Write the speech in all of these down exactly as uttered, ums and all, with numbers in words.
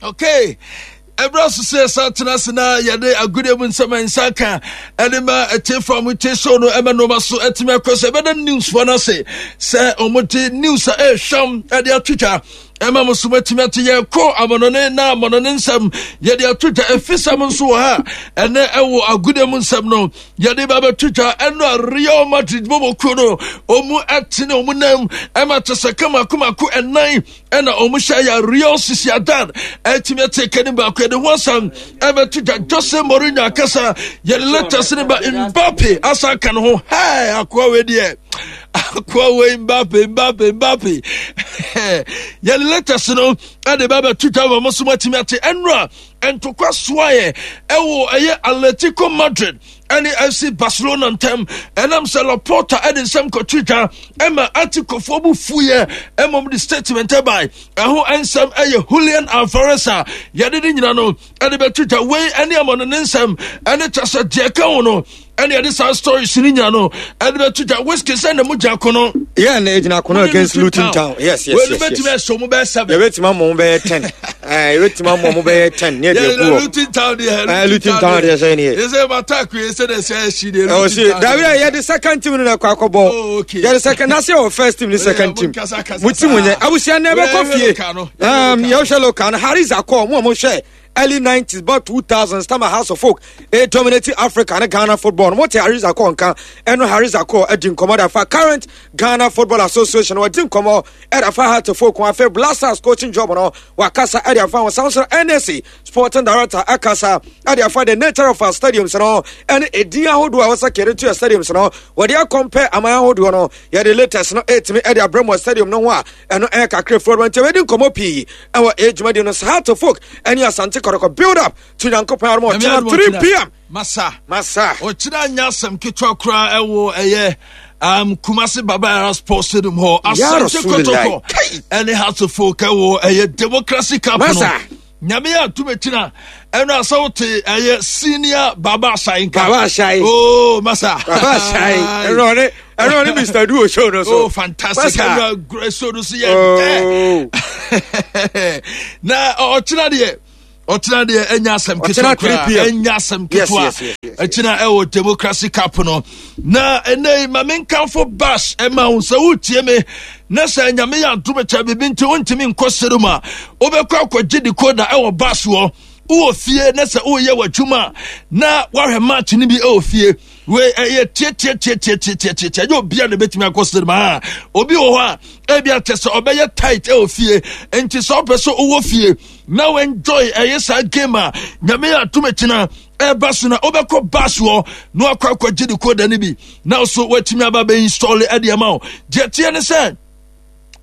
Okay, ɛberɛ so sɛ yɛsa tena ase na yɛde agodeɛ mu nsɛm a nsa ka ɛde ma ɛtiefoɔ a motie show no ɛma nnoɔma so atumi akɔ sɛ ɛbɛda newsfoɔ no ase sɛ ɔmode news a ɛrehwam ɛde ato dwa ɛma mo so matumi ate. Yɛkɔ amɔnɔne na amɔnɔne nsɛm yɛde ato dwa. Ɛfisɛm nso wɔ ha ɛnɛ ɛwɔ agodeɛ mu nsɛm no yɛde ba bɛto dwa. Ɛno a Real Madrid bɔbɔkuo no ɔmu ɛtene ɔmu nam ɛma kyɛ sɛ kamakomako ɛnan ɛna ɔmo hyɛ yɛ Real Sociedad ɛtumi ɛte kani baako. Yɛde ho asɛm ɛbɛto dwa. Jose Mourinho akasa, yɛde letters ne ba. Mbappe asa aka ne ho. Hɛɛ, akoa wei deɛ, akoa wei, Mbappe, Mbappe, Mbappe, yɛde letters no ɛde ba bɛto dwa ma mo so moatumi ate. Ɛnora ntokwa soaeɛ ɛwɔ ɛyɛ Atletico Madrid ɛne F C Barcelona ntɛm, ɛnam sɛ Laporta ɛde nsɛm kɔto dwa ɛma atikofoɔ bu fuyɛ ɛmom de statement ɛbae. Ɛho nsɛm ɛyɛ Julian Alvarez a yɛde ne nyina no ɛde bɛto dwa. Wei ɛne amɔno ne nsɛm ɛne kyɛ sɛ deɛ ɛka ho no ɛne yɛde saa stories no nyina no ɛde bɛto dwa. Whisky sɛ na mu gya ko no. Yeah, na egyina kono against Luton Town. Yes, yes, yes. Wei bɛtumi ɛhyɛ ɔmo bɛyɛ seven. Yɛbɛtumi ama ɔmo bɛyɛ ten. Ɛɛ yɛbɛtumi ama ɔmo bɛyɛ ten. Ne yɛ de egu hɔ. Luton Town deɛ. Ɛɛ Luton Town deɛ sɛ ne yɛ. Yɛ sɛ attack yɛ sɛ de sɛ ɛhyi deɛ. Ɛwɔ si dabi a yɛde second team no na ɛkɔ akɔbɔ. Oh, okay. Yɛde second na se wɔ first team ne second team. Mo team nyɛ abusua na ɛbɛkɔ fie. Um, yɛhwɛ local no, Harris akɔ mo a mo hwɛ early nineties about two thousand Stama Hearts of Oak e dominate Africa ne Ghana football no. Mo te Harris akɔ nka ɛno. Harris akɔ adi nkɔmɔ da fa current Ghana Football Association, wɔdi nkɔmɔ ɛda fa Hearts of Oak ho. Afei Black Stars coaching job no, wakasa ɛde afa ho. San so N S A sporting director akasa ɛde afa the nature of our stadiums no ɛne edin ahodoɔ a wɔsɛ kɛde to yɛ stadiums no, wɔde akɔmpɛ aman ahodoɔ no. Yɛde latest no ɛtumi ɛde abrɛ mu wɔ stadium no ho a ɛno ɛyɛ kakra furo no nti wɔdi nkɔmɔ pii ɛwɔ edwumadi no. Hearts of Oak ɛne Asante Kɔtɔkɔ build up to Nyankopɔn aroma ɔkyena three p m. Masa. Masa. Ɔkyena nya asɛm ketewa koraa ɛwɔ ɛyɛ um, Kumasi Baba Yara Sports Stadium hɔ. Ya Asante Rasulillahi. Kɔtɔkɔ ɛne Hearts of Oak ɛwɔ ɛyɛ Democracy Cup no. Masa. Nyame yɛ atum akyina ɛno asɛ wote ɛyɛ Senior Baba Ahyai nka. Baba Ahyai. Oh, masa. Baba Ahyai, ɛno ɔne ɛno ɔne Mister Duo show no so. Oh, fantastic. Masa. Ɛno agorɔ show no so yɛ Oh. dɛ na ɔkyena deɛ, ɔkyena deɛ ɛnya asɛm ketewa Ɔkyena koraa. three p m. Ɛnya asɛm Yes, ketewa. yes, yes, yes, Ɛkyena ɛwɔ Democracy Cup no na ɛnɛ yi ma menkamfo bash ɛma wo sɛ wotie me na sɛ Nyame yɛ adom kyɛ biribi nti wontumi nkɔ sere mu a, wobɛkɔ akɔgye decoder ɛwɔ bash wɔ. Wowɔ fie na sɛ woyɛ w'adwuma a na woahwɛ match no bi ɛwɔ fie. Wei ɛyɛ tietietietietietietie, ɛnyɛ obia na ɛbɛtumi akɔ cinema a. Obi wɔ hɔ a ebi akyɛ sɛ ɔbɛyɛ tight ɛwɔ fie, nti sɛ ɔpɛ sɛ wowɔ fie na wo enjoy ɛyɛ saa game a Nyame yɛ atom akyina ɛba so na wobɛkɔ bas hɔ na wakɔ akɔgye decoder no bi na so woatumi aba bɛ install ɛde ama wo. Deɛ teɛ ne sɛ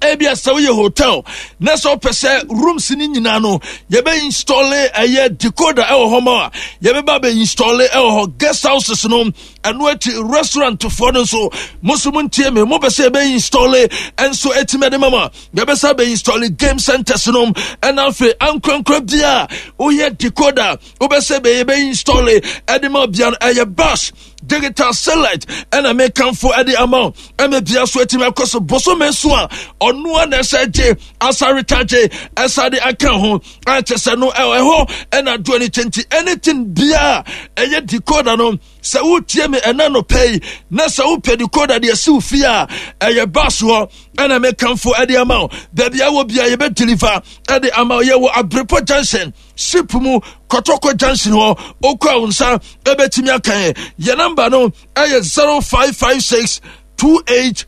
ebi sɛ woyɛ hotel na sɛ wopɛ sɛ rooms no nyinaa no yɛbɛ install ɛyɛ decoder ɛwɔ hɔ ma a, yɛbɛba bɛ install ɛwɔ hɔ. Guest houses no, ɛno akyi restaurant foɔ no nso, mo nso montie me, mopɛ sɛ yɛbɛ install ɛnso ɛtumi ɛde ma ma yɛbɛsa bɛ install. Game centers no ɛna afei ankorankora bia woyɛ decoder wobɛsɛ bɛ yɛbɛ install ɛde ma bia no, ɛyɛ Bash Digital Satellite ɛna mekamfo ɛde ama wo ɛma bia so atumi akɔ so. Bosome so a ɔno a na ɛsɛ gye asaretagye ɛsa de aka ho akyɛ sɛ no ɛwɔ ɛhɔ ɛna adoɔ no kyɛ. Nti anything biaa ɛyɛ decoder no, sɛ wotie me ɛna no pɛ yi na sɛ wopɛ decoder deɛ si wo fie a, ɛyɛ bas hɔ ɛna mekamfo ɛde ama wo. Baabi a wɔ bia yɛbɛ deliver ɛde ama wo. Yɛwɔ Abrepɔ Junction ship mu, Kɔtɔkɔ Junction hɔ. Okɔ a wo nsa ɛbɛtumi aka yɛ. Yɛ number no ɛyɛ zero five five six two eight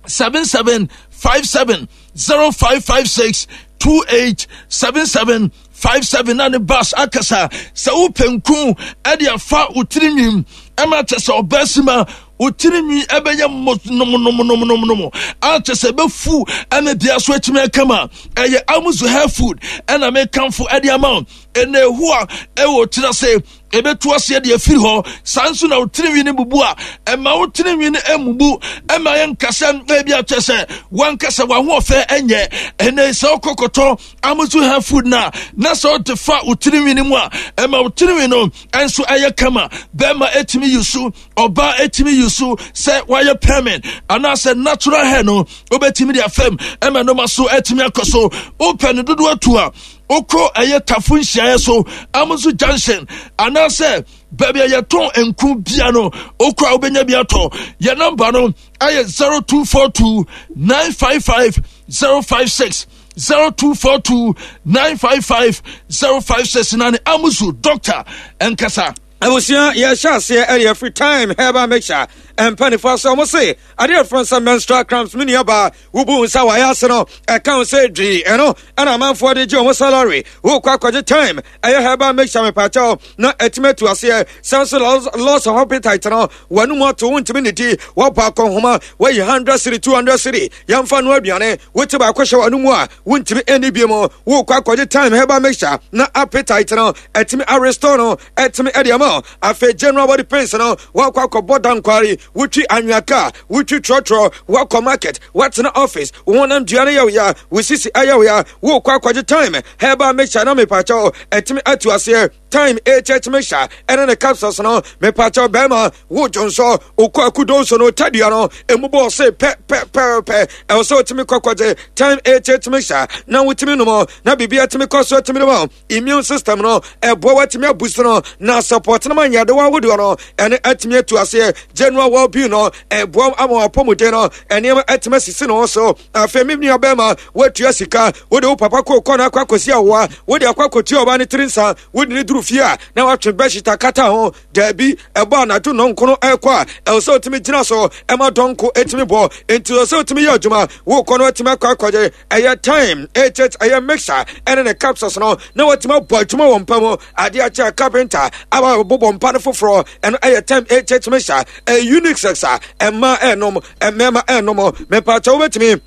seven seven five seven, zero five five six two eight seven seven five seven na ne bus akasa. Sɛ wopɛ nku ɛde afa wo tirinwim ɛma kyɛ sɛ ɔbaa si ma wo tirinwi ɛbɛyɛ mo nomnomnomnomnom akyɛ sɛ ɛbɛfu ɛna bia so atumi akama, ɛyɛ Amuzu Hair Food ɛna mekamfo ɛde ama wo. Ɛna ehu a ɛwɔ tiri ase ɛbɛtu aseɛ deɛ afiri hɔ. Saa nso na wo tirinwi no bubu a, ɛma wo tirinwi no amubu ɛma yɛ nkasɛ ebi akyɛ sɛ wankasa wahoɔfɛ ɛnyɛ. Ɛnɛ sɛ wokɔkɔtɔ Amuzu Hair Food no a na sɛ wode fa wo tirinwi no mu a, ɛma wo tirinwi no ɛnso ɛyɛ kama. Bɛrima ɛtumi yi so, ɔbaa ɛtumi yi so, sɛ wayɛ permanent anaasɛ natural hair no, wobɛtumi de afam ɛma noma so ɛtumi akɔ so. Wopɛ no dodoɔ atu a, Wokɔ ɛyɛ Tafo nhyiaeɛ so, Amuzu Junction, anaasɛ baabi a yɛtɔn nku bia no, wokɔ a wobɛnya bi atɔ. Yɛ namba no ɛyɛ zero two four two nine five five zero five six, zero two four two nine five five zero five six. Na ne Amuzu doctor ɛnkasa. Abusua, yɛhyɛ aseɛ ɛyɛ free time herbal mixture. Mpanimfoɔ sɛ ɔmo se adeɛ frɛ sɛ menstrual cramps, me nuabaa, wobu nsa wayɛ ase no ɛka wo sɛ dwii, ɛno ɛna amanfoɔ de gye ɔmo salary. Wokɔ akɔgye time ɛyɛ herbal mixture, mepakyɛw, na ɛtumi atu aseɛ. Sɛ nso loss of appetite no, w'anum ato, wontumi ne di, wɔbɔ akɔnhoma, wayi hundred cedi, two hundred cedi, yɛmfa no aduane, wote baako hyɛ w'anum a wontumi ɛni bi mu. Wokɔ akɔgye time herbal mixture na appetite no ɛtumi arestore no, ɛtumi ɛde ama. Afei general body pains no, wakɔ akɔbɔ dankwari, wotwi anwea kaa, wotwi trɔtrɔ, wakɔ market, watena office, wo honam dua no yɛwo ya, wo sisi ayɛwo ya, wokɔ akɔgye time herbal mixture na mepakyɛw ɛtumi atu aseɛ. Time H H mixture ɛne ne capsules no, mepakyɛw, bɛrima wo dwonsɔ, wokɔ akudo nso no, tadua no emu bɔɔ se pɛ pɛ pɛ pɛ, ɛwɔ sɛ wotumi kɔkɔgye time H H mixture na wotumi nom na biribi atumi kɔ so, atumi nom immune system no, ɛboa watumi abusu no na support no ma nyadewa ahodoɔ no ɛne atumi atu aseɛ. General well-being no, ɛboa ama wapɔmuden no ɛnneɛma atumi asisi ne ho so. Afei me nua bɛrima, woatua sika, wode wo papa kɔ no akɔ akɔsi awoa, wode akɔ akɔtua ɔbaa no tiri nsa, wode ne duru fie a na watwe bedsheet akata ho. Daabi, ɛbɔ anadwo nɔnkono ɛkɔ a, ɛwɔ sɛ wotumi gyina so ɛma dɔnko ɛtumi bɔ, enti ɛwɔ sɛ wotumi yɛ adwuma. Wokɔ no atumi akɔ akɔgye ɛyɛ time H H ɛyɛ mixture ɛne ne capsules no na watumi abɔ adwuma wɔ mpa mu. Adeɛ akyɛ carpenter aba bobɔ mpa no foforɔ. Ɛno ɛyɛ time H H mixture, ɛyɛ unisex a ɛmmaa ɛnom, mmarima ɛnom. Mepakyɛ, wobɛtumi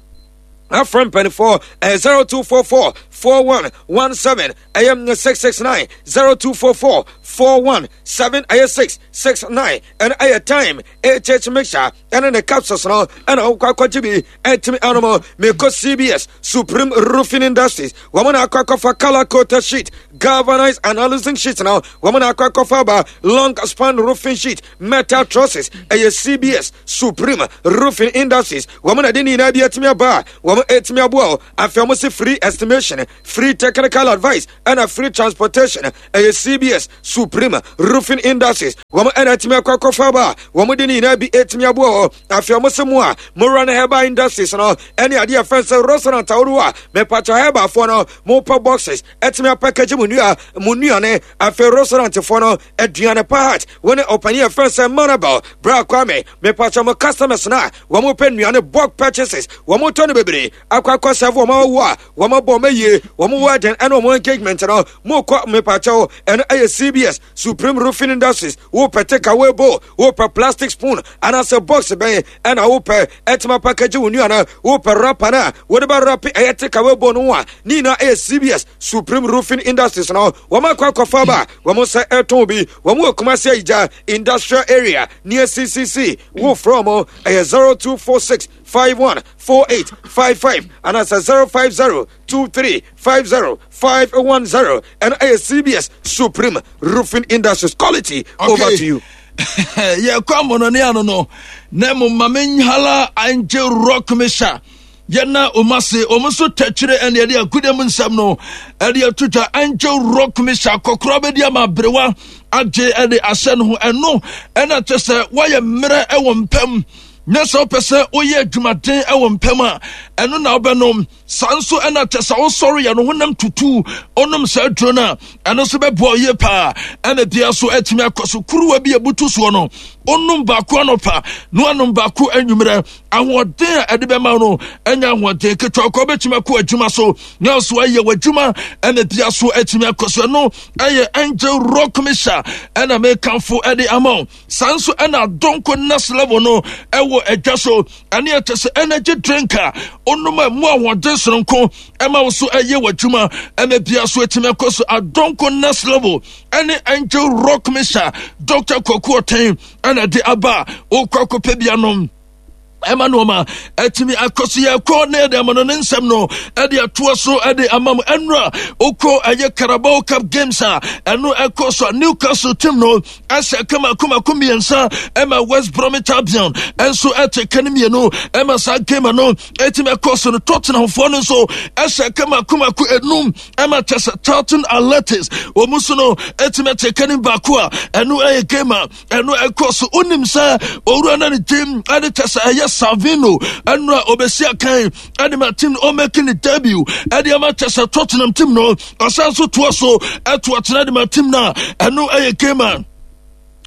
afrɛ mpanimfoɔ ɛyɛ zero two four four four one one seven ɛyɛ six six nine, zero two four four four one seven ɛyɛ six six nine. Ɛno ɛyɛ time H H mixture ɛne ne capsules no ɛna wokɔ akɔgye bi ɛtumi anom. Mekɔ C B S Supreme Roofing Industries, wɔn na akɔ akɔfa color coated sheet, galvanized and aluzinc sheet no, wɔn na akɔ akɔfa aba, long span roofing sheet, metal trusses. Ɛyɛ C B S Supreme Roofing Industries, wɔn na de ne nyinaa bi atumi aba a wɔn atumi aboa o. Afei wɔn si free estimation, free technical advice ɛna free transportation. Ɛyɛ C B S Supreme Roofing Industries, wɔn ɛna atumi akɔ akɔfa aba a wɔn de ne nyinaa bi atumi aboa hɔ. Afei wɔn sɛ mu a mowura no herbal industries no ɛne adeɛ fɛn sɛ restaurant ahodoɔ a, mepatwa, herbalfoɔ no mopɛ boxes ɛtumi apackage mu nnua mu nnuane. Afei restaurantfoɔ no aduane pa hat, wɔne ɔpanin yɛ fɛn sɛ Manabel Bra Kwame. Mepatwa, mo customers no a wɔn pɛ nnuane, bulk purchases, wɔn tɔ no bebree akɔ akɔ serve wɔn awo a wɔn abɔ wɔn ayie, wɔn wedding ɛne wɔn engagement no, mo kɔ, mepatwa, ɛno ɛyɛ C B S Supreme Roofing Industries. Wopɛ takeaway bowl, wopɛ plastic spoon anaasɛ box bɛn ɛna wopɛ ɛtuma package wo nnuane, wopɛ wrapper no a wode bɛ wrap ɛyɛ takeaway bowl no ho a, ne nyinaa ɛyɛ C B S Supreme Roofing Industries no. Wɔn akɔ akɔfa ba, wɔn nsa ɛtɔn bi. Wɔn wɔ Kumasi Ayigya Industrial Area near C C C. Wofrɛ wɔn ɛyɛ zero two four six five one four eight five five anaasɛ zero five zero two three five zero five one zero. Ɛno ɛyɛ C B S Supreme Roofing Industries quality. Okay. Over to you. Yɛkɔ amɔnɔne ano no na mmom ma menhala Angel Rock Mixture. Yɛna ɔma se ɔmo nso tɛkyerɛ ɛne ɛde agude mu nsɛm no ɛde ato dwa. Angel Rock Mixture kɔkorɔ bɛdi ama aberewa agye ɛde ahyɛ no ho. Ɛno ɛna kyɛ sɛ woayɛ mmerɛ ɛwɔ mpam na sɛ wopɛ sɛ woyɛ adwumaden ɛwɔ mpam a, ɛno na wobɛnom. Saa nso ɛna kyɛ sɛ wosɔre yɛ no honam tutu, onom saa aduro no a, ɛno nso bɛboa yie paa ɛna bia so atumi akɔ so. Kuruwa bi abutu soɔ no, onom baako anɔpa na wanom baako anwummerɛ. Ahoɔden a ɛde bɛma no ɛnyɛ ahoɔden ketewa kɔ, wobɛtumi akɔ adwuma so na ɔso ayɛ w'adwuma ɛna bia so atumi akɔ so. Ɛno ɛyɛ Angel Rock Mixture ɛna mekamfo ɛde ama wo. Saa nso ɛna Adonko Next Level no ɛwɔ adwa so, ɛne ɛkyɛ sɛ energy drink a onom a mu ahoɔden soronko ɛma wo so ɛyɛ w'adwuma ɛma bia so atumi akɔ so. Adonko Next Level ɛne Angel Rock Mixture, Doctor Kwaku Ɔtɛn ɛna de aba a wokɔ akɔpɛ bia nom. Ɛma nneɛma ɛtumi akɔ so. Yɛkɔ na yɛde ama no ne nsɛm no ɛde atoa so ɛde ama mu. Ɛnura okɔ ɛyɛ Carabao Cup games a ɛno ɛkɔ so a, Newcastle team no ɛhyɛ kama kumako mmiɛnsa, ɛma West Bromwich Albion ɛnso ɛte ka no mmienu. Ɛma saa game no ɛtumi ɛkɔ so no, Tottenham foɔ no nso ɛhyɛ kama kumako enum, ɛma kyɛ sɛ Charlton Athletics wɔn nso no ɛtumi ɛte ka no baako a ɛno ɛyɛ game a ɛno ɛkɔ so. Wonim sɛ owura no ne team ɛde kyɛ sɛ ɛyɛ Savino, ɛno a obɛsi akan ɛde ma team no, ɔmɛki ne debut ɛde ama kyɛ sɛ Tottenham team no. Ɔsan so toa so ɛto atena de ma team no a ɛno ɛyɛ game a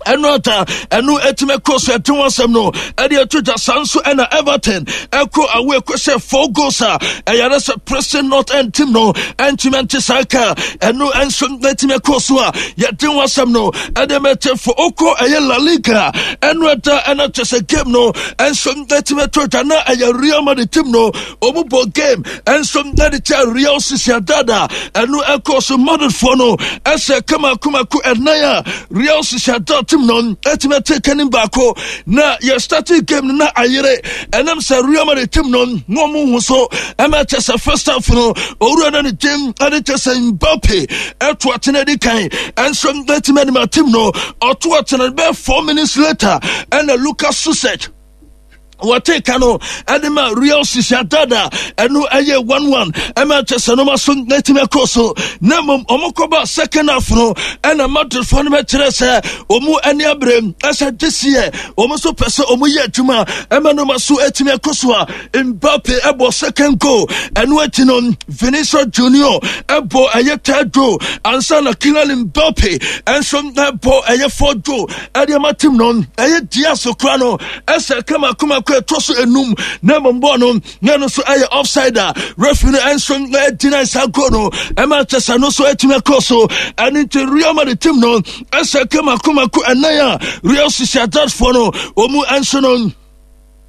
ɛno ata ɛno ɛtumi ɛkɔ so ɛte ho asɛm no ɛde ɛto dwa. Saa nso ɛna Everton ɛkɔ awo ɛkɔ sɛ four goals a ɛyɛrɛ sɛ Preston North End team no ɛntumi ɛnte saa ka. Ɛno ɛnso ɛtumi ɛkɔ so a yɛde ho asɛm no ɛde mɛkyɛ fo. Okɔ ɛyɛ La Liga, ɛno ɛda ɛna kyɛ sɛ game no ɛnso ɛtumi ɛto dwa na ɛyɛ Real Madrid team no, ɔmu bɔ game ɛnso ɛde kyɛ Real Sociedad a ɛno ɛkɔ so. Madridfoɔ no ɛsɛ kama kumako ɛnan a Real Sociedad team no ɛtumi ɛte kanim baako. Na yɛ starting game no na ayere, ɛnam sɛ Real Madrid team no na ɔmo hu so. Ɛma kyɛ sɛ first half no, owura no ne team ɛde kyɛ sɛ Mbappe ɛto atena di kan ɛnso ɛtumi ɛde team no ɔto atena. Bɛɛ four minutes later ɛna Lucas Susek wɔte ka no ɛde ma Real Sociedad a ɛno ɛyɛ one one. Ɛma kyɛ sɛ noma so n'atumi akɔ so. Na mmom ɔmo kɔba second half no, ɛna Madridfoɔ no bɛkyerɛ sɛ ɔmo ani abere ɛsɛ this year ɔmo nso pɛ sɛ ɔmo yɛ adwuma. Ɛma noma so atumi akɔ so a Mbappe ɛbɔ second goal. Ɛno akyi no, Vinicius Junior ɛbɔ ɛyɛ third goal ansa na Kylian Mbappe ɛnso ɛbɔ ɛyɛ fourth goal ɛde ama team no. Ɛyɛ Diaz kora no ɛsɛ kama kama kɔ ɛtɔ so enum, na mmom bɔɔl no na ɛno nso ɛyɛ offside a referee no ɛnso ɛgyina saa goal no. Ɛma kyɛ sɛ no nso ɛtumi ɛkɔ so. Ɛno nti Real Madrid team no ɛsɛ kama kama kɔ ɛnan a Real Sociedad foɔ no wɔn ɛnso no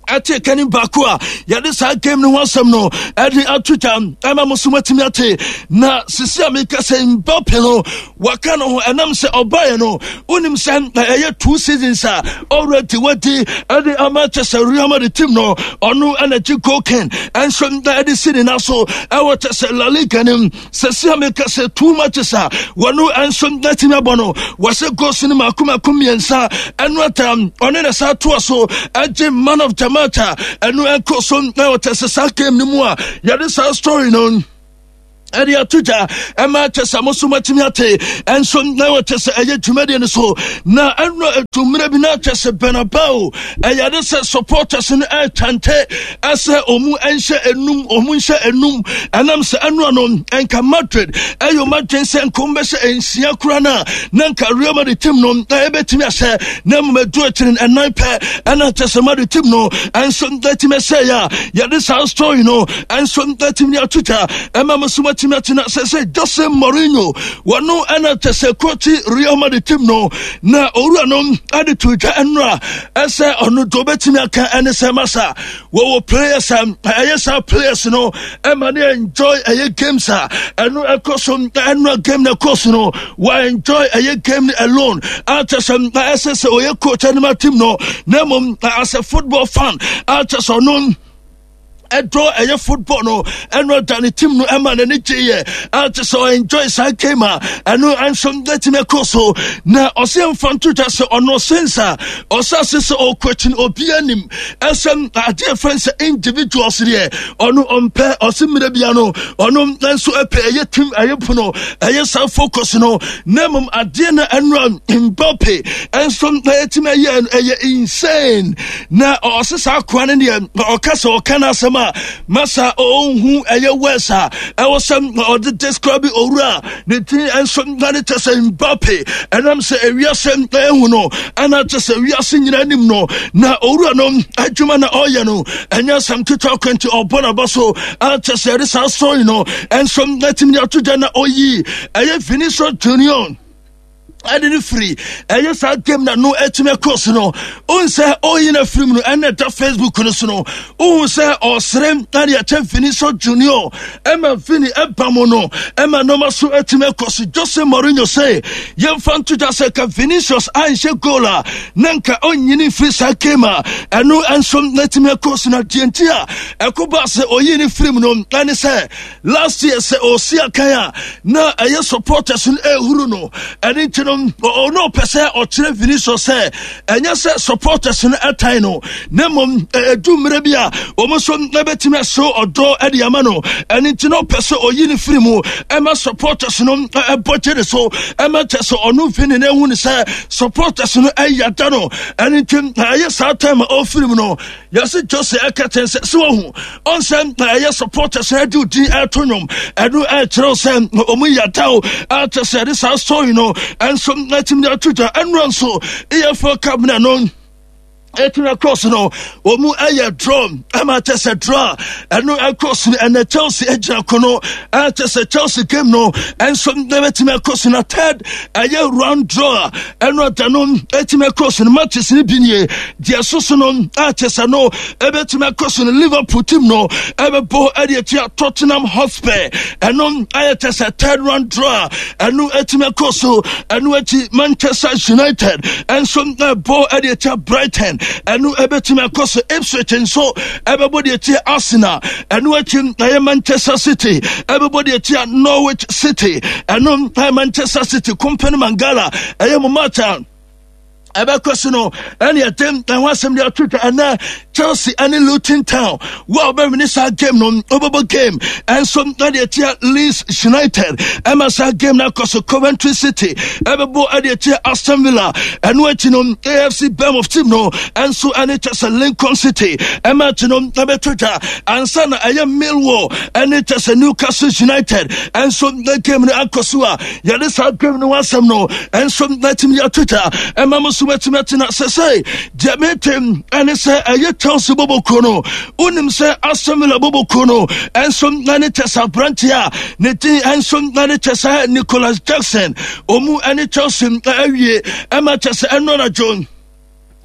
ɛte kani baako a yɛde saa game no ho asɛm no ɛde ato dwa ɛma mo so matumi ate. Na sisi a meka sɛ Mbappe no waka no ho, ɛnam sɛ ɔbaeɛ no, wonim sɛ ɛyɛ two seasons a already wadi ɛde ama kyɛ sɛ Real Madrid team no, ɔno ɛna gye goal king ɛnso ɛde si ne na so ɛwɔ kyɛ sɛ La Liga nim. Sɛsi a meka sɛ two matches a wɔno ɛnso atumi abɔ no, wɔsɛ goals no mako mako mmiɛnsa. Ɛno ata ɔne na saa toa so ɛgye man of the match a ɛno ɛkɔ so na wɔkyɛ sɛ saa game no mu a yɛde saa story no ɛde ato gya ɛma kyɛ sɛ mo so matumi ate. Ɛnso na wɔkyɛ sɛ ɛyɛ dwumadie no so na ɛno ɛtummerɛ bi na kyɛ sɛ Bernabeu ɛyɛ ade sɛ supporters no ɛkyante ɛsɛ ɔmu ɛnhyɛ enum, ɔmu nhyɛ enum, ɛnam sɛ ɛno ano ɛnka Madrid ɛyɛ ɔmo adwen sɛ nka ɔmo bɛhyɛ nsia kora no a na nka Real Madrid team no ɛbɛtumi ahyɛ, na mmom ɛdu akyiri no ɛnan pɛ ɛna kyɛ sɛ Madrid team no ɛnso ɛtumi ɛhyɛ yɛ a yɛde saa story no ɛnso ɛtumi ato gya ɛma mo so matumi atena sɛ sɛ Jose Mourinho wɔno ɛna kyɛ sɛ coach Real Madrid team no, na owura no ɛde to dwa ɛnora ɛsɛ ɔno do obɛtumi aka ɛne sɛ masa wɔwɔ players a ɛyɛ saa players no ɛma ne enjoy ɛyɛ games a ɛno ɛkɔ so. Ɛno game no ɛkɔ so no, wa enjoy ɛyɛ game no alone akyɛ sɛ ɛsɛ sɛ ɔyɛ coach ɛnema team no, na mmom as a football fan akyɛ sɛ ɔno ɛdɔ ɛyɛ football no, ɛno da ne team no ɛma n'ani gye yɛ ɛte sɛ enjoy saa game a ɛno ɛnso ɛtumi ɛkɔ so. Na ɔsɛ mfa nto dwa sɛ ɔno sensa ɔsɛ ase sɛ ɔkɔ akyi no, obi anim ɛsɛ adeɛ fɛn sɛ individuals deɛ ɔno ɔmpɛ. Ɔsɛ mmerɛ bia no ɔno nso ɛpɛ ɛyɛ team, ɛyɛ pono, ɛyɛ saa focus no, na mmom adeɛ no ɛnora Mbappe ɛnso ɛtumi ɛyɛ ɛyɛ insane. Na ɔsɛ saa akoa no deɛ ɔka sɛ ɔka no asɛm a masa ɔnhu ɛyɛ words a ɛwɔ sɛ ɔde describe owura ne din nso na ne kyɛ sɛ Mbappe, ɛnam sɛ ewiase ɛhu no ɛna kyɛ sɛ wiase nyinaa anim no na owura no adwuma na ɔyɛ no ɛnyɛ asɛm ketewa kwanti. Ɔbɔ n'aba so akyɛ sɛ yɛde saa story no ɛnso ɛtumi de ato gya na ɔyi ɛyɛ Vinicius Junior. Ɛde no firi ɛyɛ saa game na no ɛtumi ɛkɔ so no, wohu sɛ ɔyi no afiri mu no, ɛna ɛda Facebook no so no, wohu sɛ ɔsere ɛde ɛkyɛ Vinicius Junior ɛma Vini ɛba mu no, ɛma nneɛma so ɛtumi ɛkɔ so. Jose Mourinho sɛ yɛmfa nto dwa sɛ ka Vinicius anhyɛ goal a, na nka ɔnyini mfiri saa game a ɛno nso ɛtumi ɛkɔ so. Na deɛ nti a ɛkɔ ba sɛ ɔyi no firi mu no ɛne sɛ last year sɛ ɔsi akan a, na ɛyɛ supporters no ɛhuru no. Ɛne nti no, ɔno ɔpɛ sɛ ɔkyerɛ Vinicius sɛ ɛnyɛ sɛ supporters no ɛtan no, na mmom ɛdu mmerɛ bi a wɔn nso ɛbɛtumi ɛso ɔdɔ ɛde ama no. Ɛne nti no, ɔpɛ sɛ ɔyi ne firi mu ɛma supporters no ɛbɔ gye ne so, ɛma kyɛ sɛ ɔno Vini no ehu ne sɛ supporters no ɛyɛ da no. Ɛne nti ɛyɛ saa time a ɔfiri mu no, yɛsi Jose ɛka kyɛn sɛ sɛ wɔhu ɔnsɛm na ɛyɛ supporters ɛde odin ɛto nnwom, ɛno ɛkyerɛw sɛ ɔmo yadaw ɛkyɛ sɛ ɛde saa story no ɛnso ɛtumi de ato dwa. Ɛnura nso E F L Cup na no ɛtumi across no, wɔn ɛyɛ draw, ɛma kyɛ sɛ draw ɛno across no. Ɛnɛ Chelsea egyina ko no, ɛkyɛ sɛ Chelsea game no ɛnso ɛbɛtumi across no. Third ɛyɛ round draw ɛno ɛda no ɛtumi across no. Matches no bi nie deɛ soso no, ɛkyɛ sɛ no ɛbɛtumi across no. Liverpool team no ɛbɛbɔ ɛde atua Tottenham Hotspur, ɛno ɛyɛ kyɛ sɛ third round draw ɛno ɛtumi across so. Ɛno akyi, Manchester United ɛnso ɛbɔ ɛde atua Brighton, ɛno ɛbɛtumi akɔ so. Ipswich nso ɛbɛbɔ deɛ tia Arsenal. Ɛno akyi, ɛyɛ Manchester City ɛbɛbɔ deɛ tia Norwich City. Ɛno ɛyɛ Manchester City Company Mangala, ɛyɛ mo match a ɛbɛkɔ so no. Ɛne ɛde ɛho asɛm de ato dwa. Ɛnɛ Chelsea ɛne Luton Town, wo a wobɛwini saa game no, wobɛbɔ game ɛnso ɛde atia Leeds United, ɛma saa game no akɔ so. Coventry City ɛbɛbɔ ɛde atia Aston Villa. Ɛno akyi no, A F C Bournemouth team no ɛnso ɛne kyɛ sɛ Lincoln City ɛma akyi no ɛbɛto dwa, ansa na ɛyɛ Millwall ɛne kyɛ sɛ Newcastle United ɛnso game no akɔ so a yɛde saa game no asɛm no ɛnso ɛtumi ato dwa, ɛma mo so bɛtumi atena. Sɛ sɛ deɛ metem ɛne sɛ ɛyɛ Chelsea bɔbɔkuo no, wonim sɛ Aston Villa bɔbɔkuo no ɛnso ɛne kyɛ sɛ aberanteɛ a ne din ɛnso ɛne kyɛ sɛ Nicholas Jackson, ɔmu ɛne Chelsea awie, ɛma kyɛ sɛ ɛno anadwo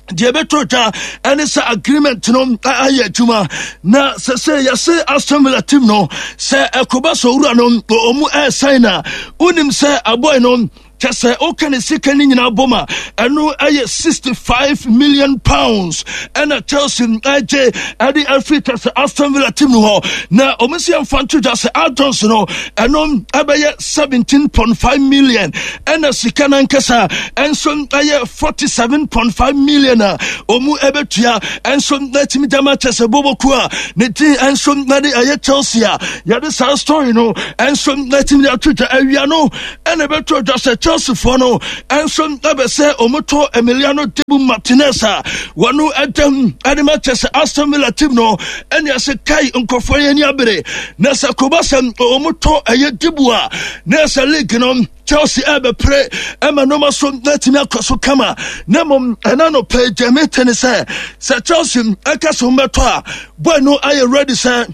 deɛ ɛbɛtɔ dwa ɛne sɛ agreement no ayɛ adwuma. Na sɛ sɛ yɛse Aston Villa team no sɛ ɛkɔba sɛ owura no ɔmu ɛɛsan na wonim sɛ abɔe no kyɛ sɛ woka ne sika no nyinaa bom a, ɛno ɛyɛ sixty-five million pounds ɛna Chelsea ɛgye ɛde afiri kyɛ sɛ Aston Villa team no hɔ. Na ɔmo si yɛmfa nto dwa sɛ add-ons no, ɛno ɛbɛyɛ seventeen point five million, ɛna sika no ankasa ɛnso ɛyɛ forty-seven point five million a ɔmu ɛbɛtua. Ɛnso ɛtumi gyama kyɛ sɛ boboku a ne din ɛnso ɛde ɛyɛ Chelsea a yɛde saa story no ɛnso ɛtumi de ato dwa. Awia no ɛna ɛbɛto dwa sɛ Chelseafoɔ no ɛnso ɛbɛ sɛ ɔmotɔ Emiliano Dibu Martinez a wɔno ɛdɛm ɛde ma kyɛ sɛ Aston Villa team no. Ɛne ɛsɛ kai nkɔfoɔ yɛ ani abere na sɛ koba sɛ ɔmotɔ ɛyɛ Dibu a, na ɛsɛ league no Chelsea ɛbɛpere ɛma nneɛma so na akɔ so kama. Na mmom ɛna no pɛ gyame te ne sɛ sɛ Chelsea ɛka so mbɛtɔ a, boy no ayɛ ready sɛ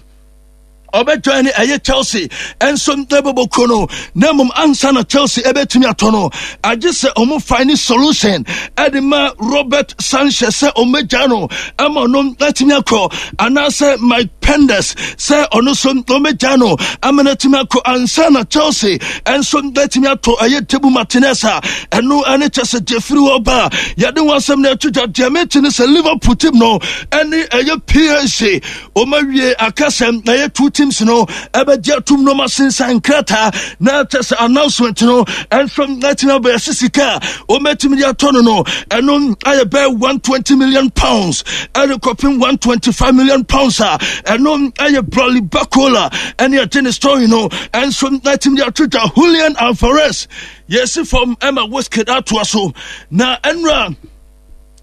ɔbɛjoin ne ɛyɛ Chelsea ɛnso ɛbɛbɔ kuo no. Na mmom ansa na Chelsea ɛbɛtumi atɔ no, agye sɛ ɔmo find solution ɛde ma Robert Sanchez sɛ ɔmmɛgya no ama ɔno atumi akɔ, anaasɛ Mike Penders sɛ ɔno nso ɔmmɛgya no ama no atumi akɔ, ansa na Chelsea ɛnso atumi atɔ ɛyɛ Dibu Martinez a ɛno ɛne kyɛ sɛ gyefiri hɔ ba a yɛde ho asɛm no ato dwa. Deɛ mete ne sɛ Liverpool team no ɛne ɛyɛ P S G ɔma wie akasɛm na ɛyɛ two teams no ɛbɛgye atum no ma sensan nkrataa na kyɛ sɛ announcement no ɛnso atumi abɛyɛ sɛ sika a ɔmɛtumi de atɔ no no ɛno ayɛ bɛyɛ one hundred twenty million pounds ɛde kɔpem one hundred twenty-five million pounds a ɛno ayɛ Bradley Barcola ɛne ɛgye ne story no ɛnso atumi de ato dwa. Julian Alvarez yɛsi fam ɛma Wizkid atoa so na ɛnura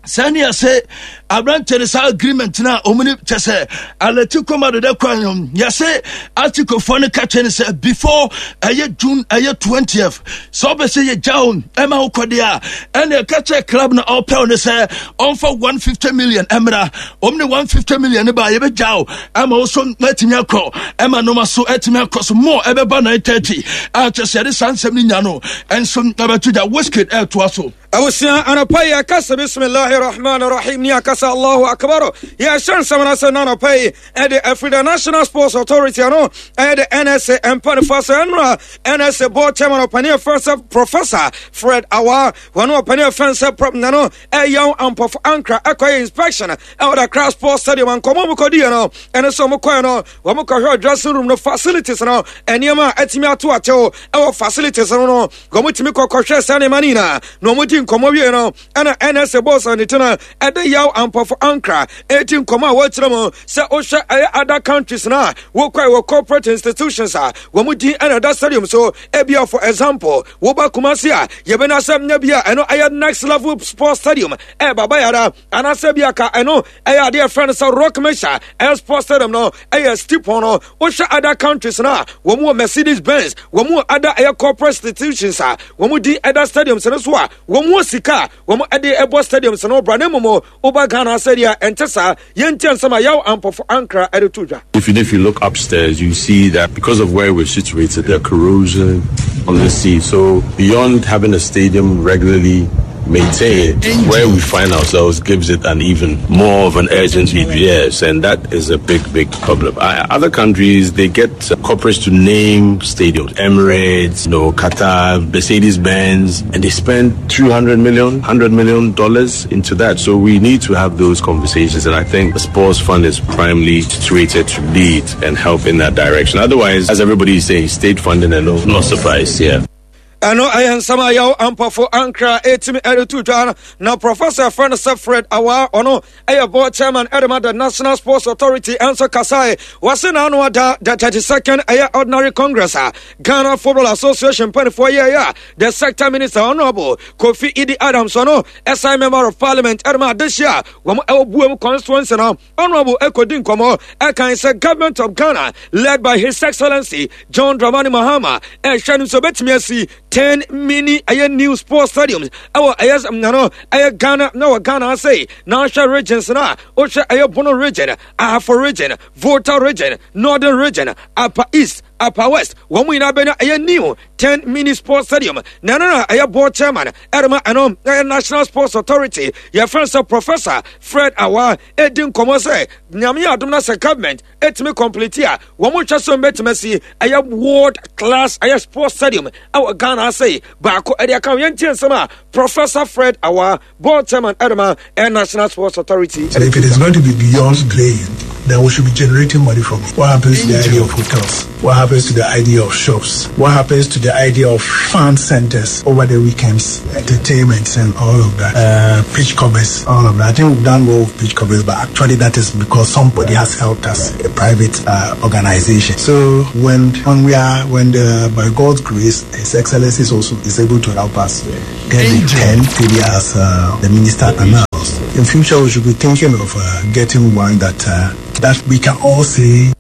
sɛnea sɛ Aberanteɛ no saa agreement no a ɔmu ne kyɛ sɛ Atletico Madrid kwan no, yɛse Atleticofoɔ no ka kyerɛ no sɛ before ɛyɛ June ɛyɛ twentieth, sɛ ɔbɛ sɛ yɛgya wo ɛma wo kɔdeɛ a, ɛne ɛka kyerɛ club no ɔpɛw no sɛ ɔmfa one hundred fifty million ɛmmra. Ɔm ne one hundred fifty million no ba, yɛbɛgya wo ɛma wo so atumi akɔ, ɛma noma so atumi akɔ so more. Ɛbɛba nine thirty a kyɛ sɛ yɛde saa nsɛm no nya no ɛnso ɛbɛto gya. Wizkid ɛɛtoa so. Abusua, anɔpa yi yɛkasa bismillahi rahman rahim ne akasa Allahu akbar. Yɛhyɛ nsɛm no sɛ na anɔpa yi ɛde afiri the National Sports Authority no, ɛyɛ the N S A mpanifa sɛ ɛnora N S A board chairman, ɔpani ɛfɛn sɛ Professor Fred Awa, wɔne ɔpani ɛfɛn sɛ Prop Nano ɛyɛw Ampɔfo Ankra ɛkɔyɛ inspection ɛwɔ the Accra Sports Stadium. Nkɔmmɔ mu kɔdiɛ no ɛne sɛ ɔmo kɔɛ no, wɔn kɔhwɛ dressing room no facilities no, nneɛma a ɛtumi ato akyɛw ɛwɔ facilities no no wɔn tumi kɔkɔhwɛ saa nneɛma no nyinaa na wɔn di nkɔmmɔ wie no, ɛna N S A boss ne tena ɛde Yaw Ampɔfo Ankra ɛti nkɔmmɔ a wɔkyerɛ mu sɛ wohwɛ ɛyɛ other countries na wokɔɛ wɔ corporate institutions a wɔn din ɛna ɛda stadium so. Ebia for example, woba Kumasi a, yɛbɛna sɛ nya bi a ɛno ɛyɛ Next Level Sports Stadium ɛyɛ Baba Yara, anaasɛ bi aka ɛno ɛyɛ adeɛ fɛn no sɛ Rock Mesha ɛyɛ sports stadium no, ɛyɛ stipon no. Wohwɛ other countries no a, wɔn wɔ Mercedes Benz, wɔn wɔ other ɛyɛ corporate institutions a wɔn din ɛda stadiums no so a wɔn wɔ sika a wɔn ɛde ɛbɔ stadiums no bra. Ne mmom woba Ghana sɛdeɛ ɛnte saa. Yɛntie nsɛm a Yaw Ampɔfo Ankra ɛde to dwa. If you, if you look upstairs, you see that because of where we're situated, there are corrosion on the sea. So beyond having a stadium regularly maintained, where we find ourselves gives it an even more of an urgent need. Yes, and that is a big, big problem. I, other countries, they get corporates to name stadiums, Emirates, you know, Qatar, Mercedes Benz, and they spend two hundred million, one hundred million dollars into that. So we need to have those conversations, and I think the sports fund is primarily situated to lead and help in that direction. Otherwise, as everybody is saying, state funding alone not suffice. Yeah. Ɛno ɛyɛ nsɛm a Yɛw Ampɔfo Ankra ɛtumi ɛde to dwa no. Na Professor frɛ no sɛ Fred Awa, ɔno ɛyɛ board chairman ɛde ma the National Sports Authority, ɛnso kasae. Wɔse n'ano ada the thirty-second ɛyɛ ordinary congress a Ghana Football Association mpanimfoɔ yɛyɛ a the sector minister, Honourable Kofi Idi Adams, ɔno ɛsan member of parliament ɛde ma adehyia a wɔn ɛwɔ Buom constituency no, Honourable ɛkɔdi nkɔmmɔ ɛkan sɛ Government of Ghana led by His Excellency John Dramani Mahama ɛhwɛ no nso bɛtumi asi ten mini ɛyɛ new sports stadiums ɛwɔ ɛyɛ nano ɛyɛ Ghana na wɔ Ghana ase. Na ɔhwɛ regions no a, wohwɛ ɛyɛ Bono Region, Ahafo Region, Volta Region, Northern Region, Upper East, Upper West, wɔn mu nyinaa bɛnya ɛyɛ new ten mini sports stadium. Na ɛno na ɛyɛ board chairman ɛrema ɛno ɛyɛ National Sports Authority, yɛfrɛ sɛ Professor Fred Awa, ɛdi nkɔmmɔ sɛ Nyame yɛ adom na sɛ government ɛtumi complete a, wɔn mo twɛ so mbɛtumi asi ɛyɛ world class ɛyɛ sports stadium ɛwɔ Ghana ase baako ɛde aka. Yɛn tie nsɛm a Professor Fred Awa, board chairman ɛrema ɛyɛ National Sports Authority. So if it is going to be beyond playing, then we should be generating money from it. What happens to the idea of hotels? What happens to the idea of shops? What happens to the idea of fun centers over the weekends, entertainment and all of that? Uh, pitch covers, all of that. I think we've done well with pitch covers, but actually that is because somebody has helped us, a private uh, organization. So when when we are, when the, by God's grace, His Excellency is also is able to help us get the ten, maybe as uh, the minister announced. In future, we should be thinking of uh, getting one that uh, that we can all say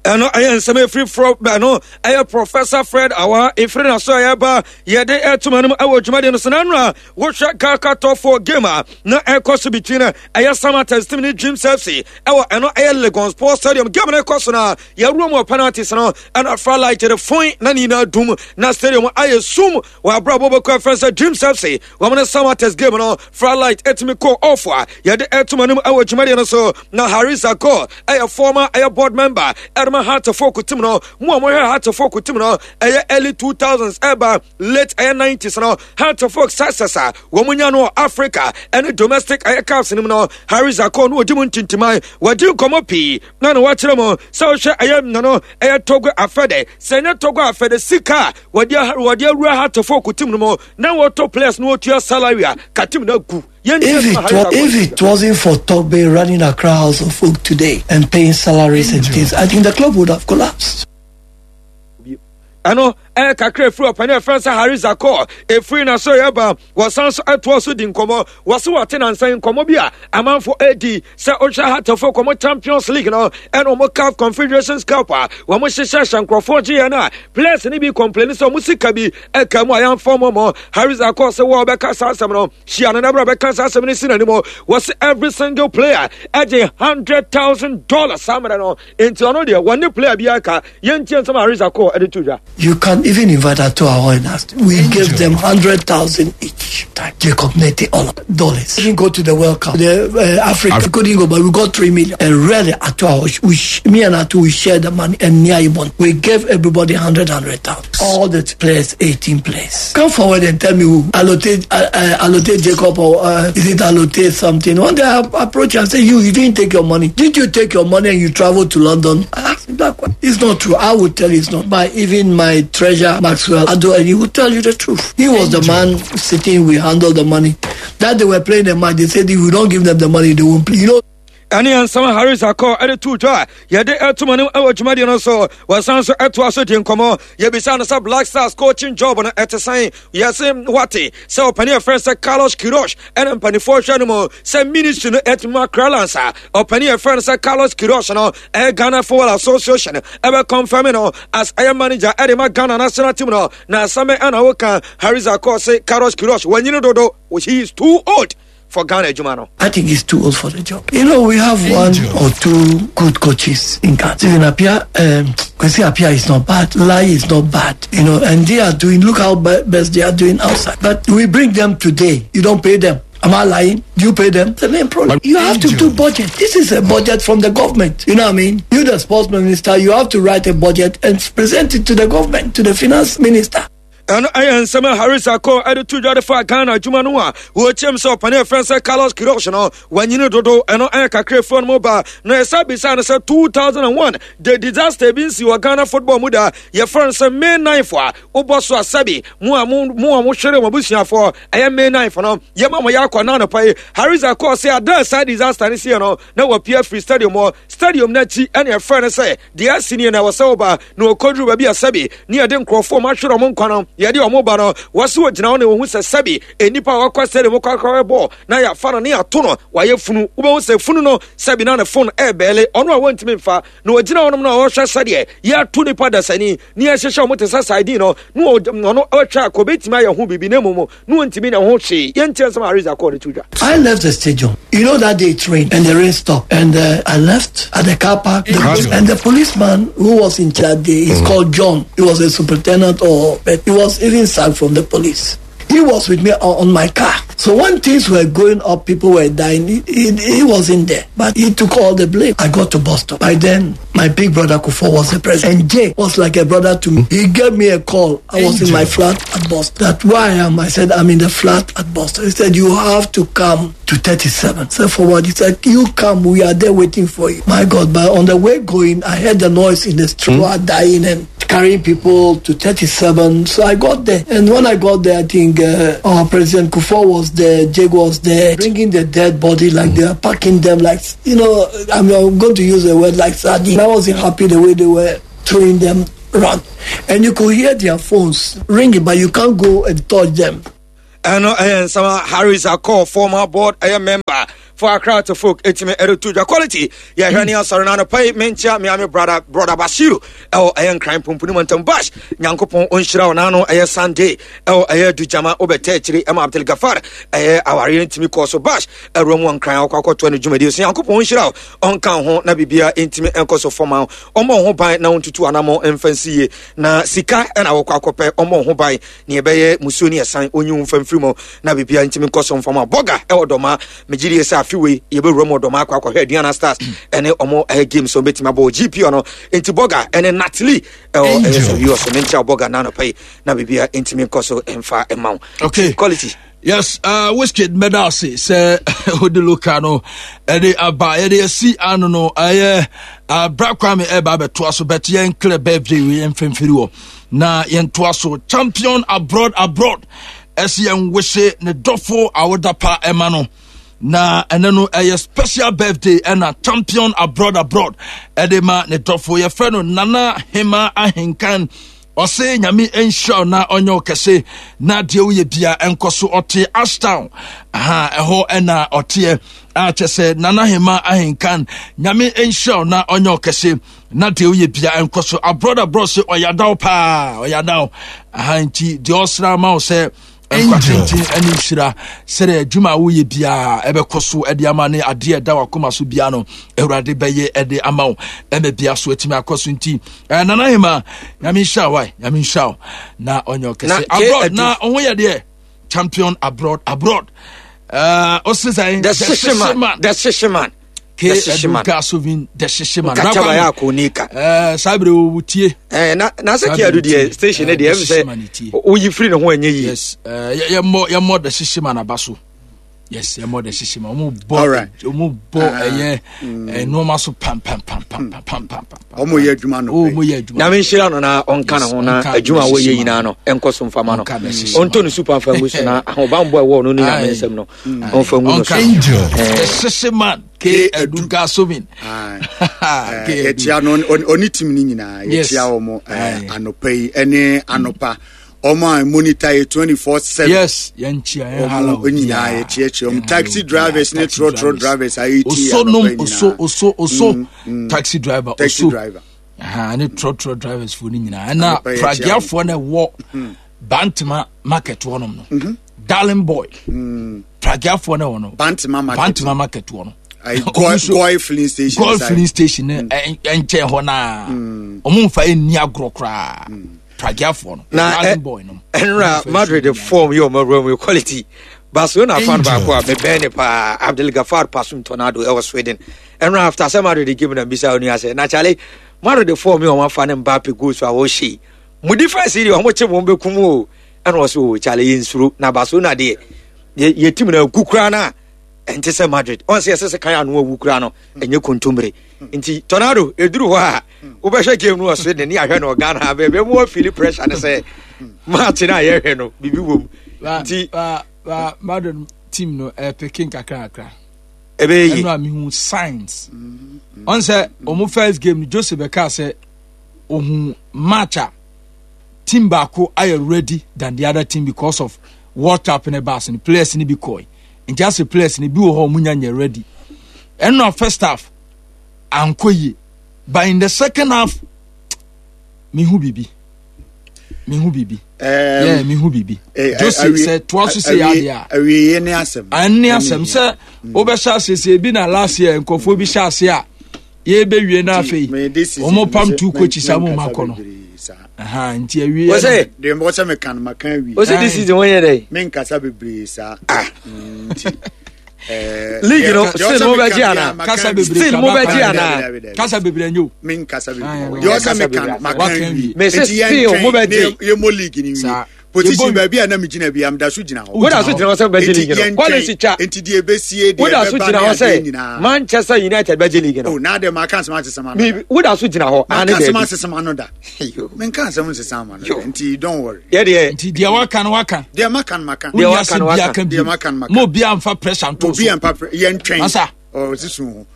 Ɛno ɛyɛ nsɛm ɛfiri frɔ ɛno ɛyɛ Professor Fred Awa ɛfiri na so ɛyɛ ba yɛde ɛtoma no mu ɛwɔ dwumadeɛ no so. Na no a wohwɛ GHALCA Top four game a na ɛkɔ so between ɛyɛ Samartex team ne Dreams F C ɛwɔ ɛno ɛyɛ Legon Sports Stadium, game no ɛkɔ so no a yɛwura mu wɔ penalties no, ɛna floodlight de fon na ne nyinaa dum na stadium ayɛ sum wɔ aberɛ a wɔbɛkɔ ɛfrɛ sɛ Dreams F C wɔn ne Samartex game no, floodlight ɛtumi kɔ off a yɛde ɛtoma no mu ɛwɔ dwumadeɛ no so. Na Harris Akɔ ɛyɛ former ɛyɛ board member ɛrema Hearts of Oak team no mu a wɔhwɛ Hearts of Oak team no ɛyɛ early two thousands ɛba late ɛyɛ nineties no, Hearts of Oak success a wɔn nya no wɔ Africa ɛne domestic ɛyɛ cups no mu no, Harris Akɔ no wɔdi mu ntintiman. Wɔdi nkɔmɔ pii na na wɔakyerɛ mu sɛ wɔhwɛ ɛyɛ nano ɛyɛ Togo Afɛdɛ sɛ ɛnyɛ Togo Afɛdɛ sika a wɔde wɔde awura Hearts of Oak team no mu na wɔtɔ players no, wɔtua salary a ka team no agu. If it, was, if it wasn't for Togbe running Accra Hearts of Oak today and paying salaries and things, I think the club would have collapsed. Ɛno Ɛyɛ kakra efiri ɔpanin ɛfrɛ sɛ Harry Zakor efiri na so yɛba. Wɔsan so ɛtoɔ so di nkɔmɔ. Wɔsi wɔte nansan nkɔmɔ bi a amanfo edi sɛ ɔhwɛ hatafo kɔmɔ Champions League no ɛna wɔn CAF Confederations Cup a wɔn hyehyɛ hyɛ nkurɔfoɔ gye yɛn a players no bi complain sɛ wɔn sika bi ɛka mu a yɛnfɔ wɔn mɔ. Harry Zakor sɛ wɔn bɛka saa asɛm no hyia no n'abira bɛka saa asɛm no si n'anim. Wɔsi every single player ɛgye hundred thousand dollars saa mmerɛ no nti ɔno deɛ wɔn ne player bi aka yɛn tie nsɛm Harry Zakor ɛde to dwa. You can even invite Ato Ahoy. We gave them hundred thousand each time. Jacob Nete, all dollars. We didn't go to the World Cup. The uh, Africa we couldn't go, but we got three million. And really, Ato Ahoy, we, me and Ato, we shared the money. And Nia Ibon, we gave everybody hundred, hundred thousand. All the players, eighteen players. Come forward and tell me who Allotey, uh, uh, Allotey Jacob, or uh, is it Allotey something? One day I approached and said, "You, you didn't take your money. Did you take your money and you traveled to London?" I asked him that question. It's not true. I would tell you it's not. By even my treasurer Maxwell Ado, and he would tell you the truth. He was the man sitting, we handled the money. That they were playing the match, they said if we don't give them the money, they won't play. You know. Ɛne nsɛm Harris Akɔ ɛde to dwa yɛde ɛtoma no ɛwɔ dwumadie no so. Wɔsan so ɛtoa so di nkɔmmɔ. Yɛbisa no sɛ Black Stars coaching job no ɛte sɛn. Yɛse wate sɛ ɔpani ɛfrɛ sɛ Carlos Queiroz ɛne mpanifoɔ hwɛ no mu sɛ ministry no ɛtumi akra lansa. Ɔpani ɛfrɛ no sɛ Carlos Queiroz no ɛyɛ Ghana Football Association ɛbɛ confirm no as ɛyɛ manager ɛde ma Ghana national team no. Na asɛm ɛna woka Harris Akɔ se Carlos Queiroz wanyini dodo, he is too old for Ghana adwuma. I think he's too old for the job. You know, we have one or two good coaches in Ghana. Stephen Appiah, um, Kwesi Appiah is not bad. Lai is not bad. You know, and they are doing, look how best they are doing outside. But we bring them today. You don't pay them. Am I lying? Do you pay them? It's the main problem. You have to do budget. This is a budget from the government. You know what I mean? You, the sports minister, you have to write a budget and present it to the government, to the finance minister. Ɛno ɛyɛ nsɛm a Harris Akɔ ɛde to dwa de fa Ghana adwuma no a wɔkyɛm sɛ ɔpane ɛfrɛ sɛ Carlos Queiroz no wanyini dodo. Ɛno ɛyɛ kakrafoɔ no mu ba na ɛsa bisa no sɛ two thousand one the disaster bi nsi wɔ Ghana football mu da yɛfrɛ no sɛ May ninth a wobɔ so asɛbi mo a mo mo a mohwere mo abusuafoɔ ɛyɛ May ninth no yɛma mo yɛ akɔ na anɔpa yi. Harris Akɔ sɛ ada saa disaster no sie no na wɔpia free stadium hɔ stadium no akyi ɛne ɛfrɛ no sɛ deɛ asi nie na ɛwɔ sɛ woba na wɔkɔduru baabi asɛbi ne yɛde nkurɔfoɔ ma ahwere ɔmo nkwa no yɛde ɔmo ba no wɔse wɔgyina hɔ na wɔhu sɛ sɛbi nnipa a wɔkɔ stadium kɔkɔrɔ bɔ na yɛafa no ne yɛato no wɔayɛ funu wobɛhu sɛ funu no sɛbi na ne phone ɛɛbɛɛle ɔno a wɔntumi mfa na wɔgyina hɔnom na wɔhwɛ sɛdeɛ yɛato nipa dasani ne yɛhyehyɛ ɔmo te sɛ sardine no na ɔno ɔtwa akɔ bɛtumi ayɛ ho biribi na mmom na wɔntumi na ho hwee. Yɛntie nsɛm a Harris Akɔ de to dwa. I left the stadium. You know that day it rained and the rain stopped. And uh, I left at the car park. The, and the policeman who was in charge there, he's mm. called John. He was a superintendent, or but he was even sacked from the police. He was with me on, on my car. So when things were going up, people were dying. He, he, he wasn't there, but he took all the blame. I got to Boston. By then, my big brother Kufuor was the president. And Jay was like a brother to me. He gave me a call. I was in my flat at Boston. That where I am, I said, I'm in the flat at Boston. He said, you have to come to thirty-seven. So forward, he said, you come, we are there waiting for you. My God, but on the way going, I heard the noise in the street, mm. dying and carrying people to thirty-seven. So I got there. And when I got there, I think uh, our President Kufuor was there, Jake was there, bringing the dead body like mm. they are packing them like, you know, I'm, I'm going to use a word like sardine. I wasn't happy the way they were throwing them around. And you could hear their phones ringing, but you can't go and touch them. Ɛno ɛyɛ nsɛm a Harris Akɔ, former board ɛyɛ member for Accra to folk ɛtumi ɛde to dwa. Quality yɛhwɛ ne asɔre no anɔpa yi. Menkyia meame brother brother Bashiru ɛwɔ ɛyɛ Nkran Pumpuni Mantam. Bash, Nyankopɔn ɔnhyira wo. N'ano ɛyɛ Sunday ɛwɔ ɛyɛ Dugyama wobɛtɛ akyiri ɛma Abdul Gafar ɛyɛ awareɛ no ntumi kɔɔ so. Bash ɛwura mu wɔ Nkran akɔ akɔtoa no dwumadie so. Nyankopɔn ɔnhyira wo, ɔnka ho na biribia ɛntumi ɛnkɔ so fɔma wo. Ɔmmɔ wo ho ban na wontutu anammɔ ɛmfa nsi yie na sika ɛna wɔkɔ akɔpɛ. Ɔmmɔ wo ho ban ne ɛbɛyɛ musuo ne ɛsan ɔnyi wo mfa mfiri mu na biribia ntumi nkɔ so mfama. Bɔga ɛwɔ Dɔma, megye die sɛ afe wei yɛbɛwura mu Dɔma akɔ akɔhwɛ Aduana Stars ɛne ɔmo ɛyɛ games ɔmo bɛtumi abɔ G P no. Nti Bɔga ɛne Natalie ɛwɔ ɛyɛ sɛ wiɔ so menkyia Bɔga na anɔpa yi na biribia ntumi nkɔ so mfa ɛma wo. Okay. Quality. Yes, uh, Wizkid medase sɛ odi loka no ɛde aba yɛde asi ano no ɛyɛ uh, Bra Kwame ɛba abɛtoa so, but yɛn clear birthday wei yɛn mfimfini wɔ na yɛn toa so. Champion abroad abroad ɛsi yɛn wese ne dɔfo awodapa ɛma no na ɛnɛ no ɛyɛ special birthday ɛna Champion abroad abroad ɛde ma ne dɔfo yɛfrɛ no Nana Hema Ahenkan Ɔse Nyame nhyira na ɔnyɛ ɔkɛse na deɛ woyɛ bia ɛnkɔ so. Ɔte Ashtown aha, ɛhɔ ɛna ɔteɛ a kyɛ sɛ Nana Hema Ahenkan, Nyame nhyira na ɔnyɛ ɔkɛse na deɛ woyɛ bia ɛnkɔ so. Abroad abroad sɛ ɔyadaw paa, ɔyadaw aha, nti deɛ ɔsra ma wo sɛ nkwa tenten ne nhyira, sɛdeɛ adwuma a woyɛ biara ɛbɛkɔ so ɛde ama ne adeɛ ɛda wakoma so biara no, Awurade bɛyɛ ɛde ama wo ɛma bia so atumi akɔ so. Nti eh, Nana Hema, Nyame nhyira wo, Nyame nhyira wo na ɔnyɛ ɔkɛse. Abroad na ɔho yɛ deɛ champion abroad abroad uh, ɔse sɛ the Shishiman, the Shishiman. Ke Edu Gasovin, the Shishiman. Nkata ya konika. Eh, saa bere wo tie. Eh, na na sɛ Kiadu deɛ, station ne deɛ, ɛm sɛ woyi firi ne ho ɛnyɛ yie. Yes, eh, yɛmmɔ yɛmmɔ the Shishiman aba so. Yes, yɛmmɔ the Shishiman. Ɔmo bɔ ɔmo bɔ ɛyɛ nneɛma so pam pam pam pam pam pam pam. Ɔmo yɛ adwuma no. Ɔmo yɛ adwuma. Nyame nhyira no na ɔnka ne ho na adwuma a wɔyɛ nyinaa no ɛnkɔ so mfama no. Ɔntɔ ne super mfa ngu so na ahobanbɔ a ɛwɔ no ne Nyame nsɛm no ɔmfa ngu no so. Angel, the Shishiman, K Edu Gasovin. Yɛkyia no, ɔne team no nyinaa, yɛkyia wɔn anɔpa yi ɛne anɔpa ɔmo a monitor yɛ twenty four seven. Yes, yɛnkyia yɛn hala. Ɔmo nyinaa yɛkyiakyia ɔmo, taxi drivers ne trɔtrɔ drivers a yɛti. Oso nom oso oso oso taxi driver. Taxi oso driver ne trɔtrɔ drivers fo no nyinaa, ɛna pragiafoɔ no ɛwɔ Bantama market hɔnom no, Darling Boy, pragiafoɔ no ɛwɔ no Bantama market. Bantama market hɔ no. Goil filling station. Goil filling station ne nkyɛn hɔ naa, ɔmo nfa ɛnni agorɔ koraa, pragiafoɔ no. Na Darling Boy no. Ɛnra Madrid form yɛ ɔmo awura mu quality. Barcelona fan baako a mebɛn ne paa, Abdel Gafar Pasum Tornado ɛwɔ Sweden, ɛnra after sɛ Madrid game na mbisa onu asɛ na kyale Madrid form yɛ ɔmo afa ne Mbappe goals a wɔhyɛ yi mo defense yi deɛ, ɔmo kye mo bɛkum o. Ɛna ɔsɛ o kyale yɛ nsuro na Barcelona deɛ yɛ yɛ team na egu koraa na ɛnte sɛ Madrid. Ɔn sɛ yɛsɛ sɛ kan ano awu koraa no ɛnyɛ kontomire. Nti Tornado eduru hɔ a wobɛhwɛ game no wɔ Sweden ne ahwɛ no Ghana baabi mu wɔ feel pressure ne sɛ match no a yɛhwɛ no biribi wɔ mu nti. Ba Madrid team no ɛpeke nkakra kakra. Ɛbɛyɛ yie. Ɛnu a mihu signs ɔn sɛ ɔmo first game no, Jose bɛka sɛ ohun match a team baako ayɛ ready than the other team because of World Cup ne baas no, players ne bi kɔɛ, nti ase players ne bi wɔ hɔ ɔmo nya nyɛ ready. Ɛnu a first half ankɔ yie, but in the second half mihu bibi, mihu bibi, yeah, mihu bibi. Jose sɛ toa so sɛ yɛ adeɛ a awieɛ ne asɛm. Ɛne asɛm sɛ wobɛhyɛ ase sɛ ebi na last year nkɔfoɔ bi hyɛ ase a yɛbɛwie no, afei wɔn pam two coaches a mo ma kɔ no, nti awie. Wɔsɛ deɛ mbɔ sɛ meka no maka awie. Wɔsɛ this season wɔnyɛ dɛ. Menkasa bebree saa nti league no still mo bɛ gye ana? Kasa bebree. Still mo bɛ gye ana? Kasa bebree nye o. Menkasa bebree, deɛ ɔsɛ meka no maka awie. Mɛ sɛ still mo bɛ gye. Yɛmmɔ league ni wie. Position baabi a na mi gyina bi am da so gyina hɔ. Woda so gyina hɔ sɛ bɛgye league no, quality twa. Nti deɛ ebesie deɛ woda so ɛbɛba gyina ne hɔ adeɛ sɛ nyinaa. Manchester United bɛgye league no. O na de ma ka asɛm asesɛm ano mi da. Woda so gyina hɔ Ma ane ka asɛm dɛbi asesɛm ano da. Menka asɛm nsesɛm ama no da, nti don't worry. Yɛ deɛ. Nti deɛ waka no waka. Deɛ maka no maka. Deɛ waka no Wonni waka. asɛm bi aka Deɛ bi maka no maka. Mo obi amfa pressure nto Obi so. ampa pre yɛntwɛn. Masa. Ɔ sisun ho.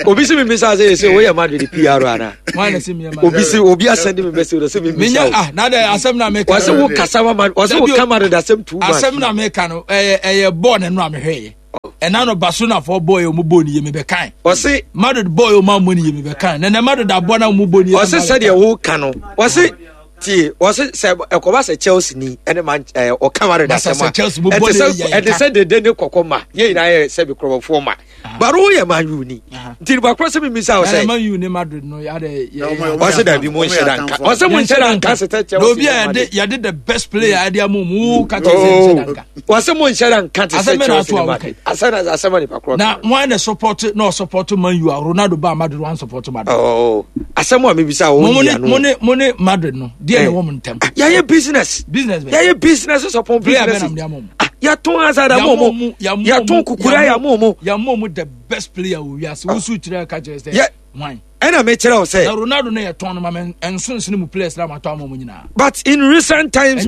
Obi si mi bisa sɛ sɛ woyɛ Madrid P R ana? Wọn na sɛ mi yɛ ma. Obi si obi asɛnde mi message sɛ mi bisa menya o. Ah, na de asɛm na meka. Wɔsɛ wo kasa ma Madrid, wɔsɛ wo Dabi o. ka Madrid asɛm too much. Asɛm na meka no, ɛyɛ ɛyɛ bɔɔl na ɛno a mehwɛ yɛ ɛna no, Barcelona fɔ bɔɔl yɛ ɔmo bɔɔl ni yɛ mi bɛ kan. Wɔse Madrid bɔɔl yɛ ɔmo amɔ ni yɛ mi bɛ kan, nɛnɛ Madrid abɔ na ɔmo bɔɔl ni yɛ. Wɔse sɛdeɛ wo ka no, wɔse tie, wɔse sɛ ɛkɔba sɛ Chelsea ni ɛne man ɛɛ ɔka Madrid Masa asɛm a sɛ Chelsea mo bɔ ɛte ne sɛ yɛ ɛte yɛn ka. sɛ dede ne kɔkɔ ma yɛn nyinaa yɛ sɛbi kurɔbɔfoɔ ma baro yɛ Man U ni, nti nipa korɔ sɛ mi bisa wo Nana sɛ Man U ne Madrid no yade yɛ. Ɔmo- ɔmo Wɔse yɛ dabi mo atamfo, nhyɛ da ɔmo yɛ nka atamfo. wɔse mo nhyɛ da nka sɛ Chelsea Na obi ne a yɛde Madrid. yɛde the best player yɛde ama mu ka kyerɛ sɛ nhyɛ da nka. Wɔse mo nhyɛ da nka te Asɛm sɛ bɛ na Chelsea ato ne a Madrid asɛm na asɛm a nipa korɔ Na ka. wọn na support na ɔsupport Man U a Ronaldo ba Madrid wọn support Madrid. Oh, asɛm a mebisa wo Mo mo yi ne ano. mo ne mo ne Madrid no deɛ na ɛwɔ mo ntɛm. Ah, yɛayɛ business. Business bɛ. Yɛayɛ business sɔpɔn Player bɛ business. nam de ama mo. Ah, yɛtɔn Hazard ama mo, yɛtɔn Kukura yɛ ama mo. Yammo mu the best player wɔ wiase wosu kyerɛ ka kyerɛ sɛ Yɛ- wan. Ɛna mekyerɛ wo Na sɛ Ronaldo no yɛ tɔn no ma mɛ nso nsene mu players na ma tɔ ama mo nyinaa. But in recent times